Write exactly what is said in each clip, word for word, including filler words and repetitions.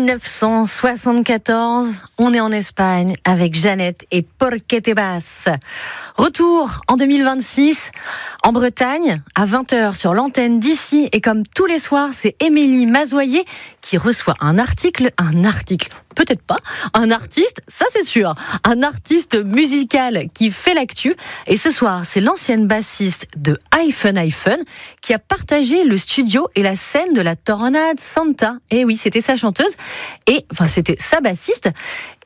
mille neuf cent soixante-quatorze, on est en Espagne avec Jeannette et Porque te vas. Retour en deux mille vingt-six en Bretagne à vingt heures sur l'antenne d'ici et comme tous les soirs, c'est Émilie Mazoyer qui reçoit un article, un article, peut-être pas, un artiste, ça c'est sûr, un artiste musical qui fait l'actu. Et ce soir, c'est l'ancienne bassiste de Hyphen Hyphen qui a partagé le studio et la scène de la Tornade Santa. Et oui, c'était sa chanteuse, et enfin c'était sa bassiste.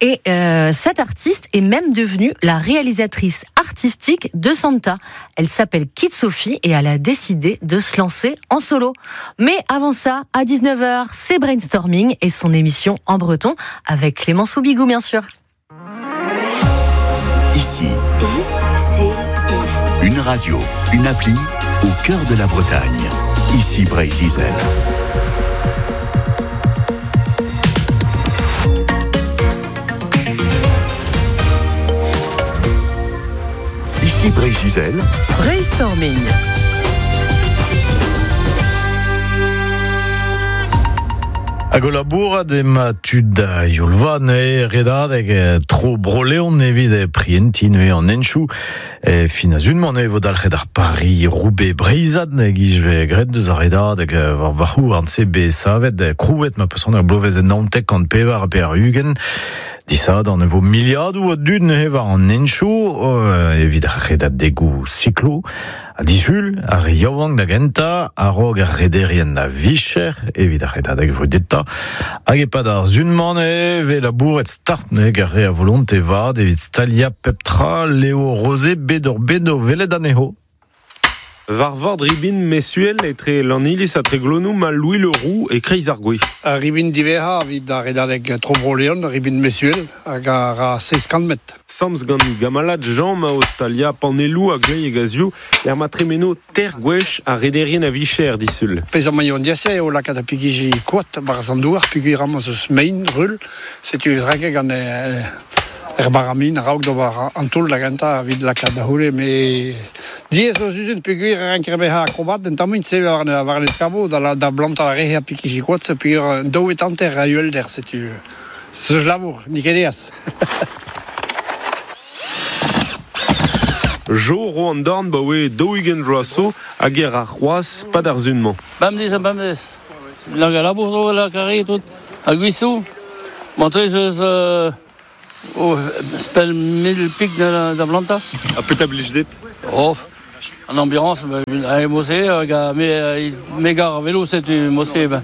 Et euh, cette artiste est même devenue la réalisatrice artistique de Santa. Elle s'appelle Kit Sophie et elle a décidé de se lancer en solo. Mais avant ça, à dix-neuf heures, c'est Brainstorming et son émission en breton avec Clément Soubigou, bien sûr. Ici, I C I. Une radio, une appli au cœur de la Bretagne. Ici Breizh Izel. Ici Breizh Izel. Brainstorming. Hag o labourat ema tud a youlvan e redadeg tro broleon evit e prientin e an enchou e fin a zunman e vo dalc'het ar Paris Roubaix Breizad e gijve gret deus ar redadeg war varc'hou an C B savet krouet ma peus an ur blovez en naontek kant pevar pe ar ugent. Disad an evo miliadoù a dud neuze war an enchou evit ar redadegoù siklo. A disul, ar re yaouank da genta, a-raok ar rederien da vicher, evit ar redadeg vrudeta. Hag epad ar zunman e ve labouret start neuze ar re a volonte vat evit stalia pep tra Léo Rosé bet ur bet o velet anezho. War vord ribin mesuel etre l'Anilis a Treglonou ma Louis Le Roux e Kreiz ar Gwe. Ar ribin diverra evit ar redadeg Tro-Bro-Leon, ribin mesuel hag ar a seiz kant metr. Samz gant gamalad Jean ma Australia panelou a glei e gazioù er ma tremeno ter gwech a rederien a vicher disul. Pez am maillon diase eo lakaat a pigiji koat bar an douar pigui ramos eus mein rul setu eus gant e, er baramin raok d'ober an toull da genta evit lakaat da c'houle me diez eus uzen peogwir ranker bezañ akrobat en tamm se war war l'eskabo da da blanta ar rehe a pikiji koat peogwir daou et hanter a uhelder setu se labour n'eo ket eas. Jo ro an dorn ba oe daou-ugent vloaz zo hag er ar c'hoazh pad ar zun-mañ. Bemdez ha bemdez. Nag a labour zo la karri tout. Hag gwisoù. Montrez eus euh, oh, spell mil pik da, da blanta. A petra blij dit? Oh, an ambiance, a mose, hag a me, me gar a velo setu mose. Ben.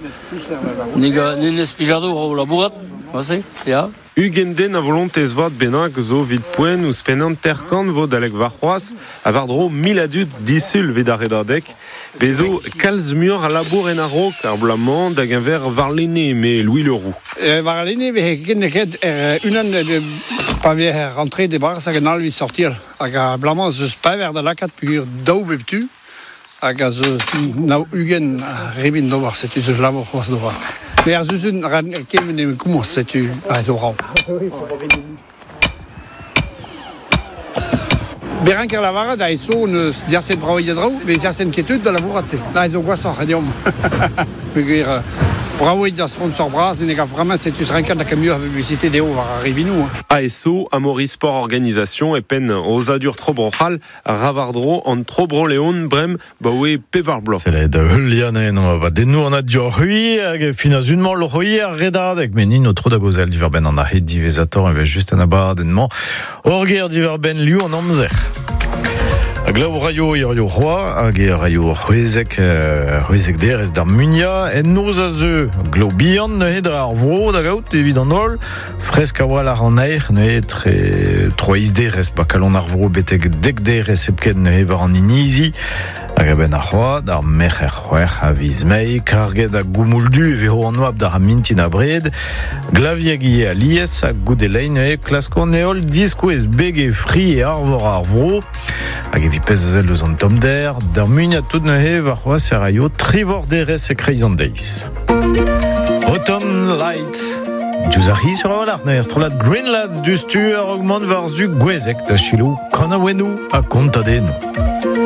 Ni n'eus pijado ro labourat, mose, ya. Ugent den a volontez vat bennak zo vid poent ouzh penn terkant vo dalek war c'hoazh a war dro mil a dud disul vet ar redadeg. Bezo kalz muioc'h a labour en a-raok ar bloaz-mañ da geñver warlene me Louis Le Roux. E, warlene vez ken ket er unan pa vez rentré de barz hag an alvi sortir hag a bloaz-mañ zeus paver da lakaat peogwir daou bep tu hag a zeus nao ugent ribin d'ober setu zeus labour c'hoazh d'ober. Mais ar zuzun ran kemen e komañs setu a zo raw. Beranker lavaret a eso neus diaset brao iadraou, mais diaset ketut da labourat se. La ezo gwasoc'h e deomp. Peogwir brao da sponsor bras, ne gav vraiment setu ranker da muioc'h a publicité dezho war ar ribinou. A S O, Amaury Sport Organisation, e penn ozadur Tro-Bro-C'hall, Ravardro, an Tro-Bro-Leon, brem, baoe pevar bloaz. C'est la da heulian no va dennou an ad hui hag fin a zunmañ loc'hoi ar redadeg men nin o tro da gozel diverben an a het divezator e vez just an abadenn-mañ orger diverben liu an amzer. Hag laou raio hirio c'hoa hag e raio c'hwezek c'hwezek derez d'ar munia en noz a zeu glaou bihan neuze dre ar vro da gaout evit an holl fresk a-walc'h an aer neuze tre troiz derez ba kalon ar vro betek dek derez hepken neuze war an inizi hag a-benn ar c'hoa d'ar merc'her c'hwec'h a viz mae karget a goumoul du e vezo an oabl d'ar mintin a bred glavieg ivez alies hag goude lein neuze klask an heol diskouez beg e fri e arvor ar vro hag evit pezh a sell eus an tommder d'ar munia tout neuze war c'hoazh e raio trivor derez e kreiz an deiz. Autumn Light Diouzh ar c'hiz sur a walc'h neuze strollad Green Lads du stur augment war zu gwezek da chilou kanaouennoù ha kontadennoù.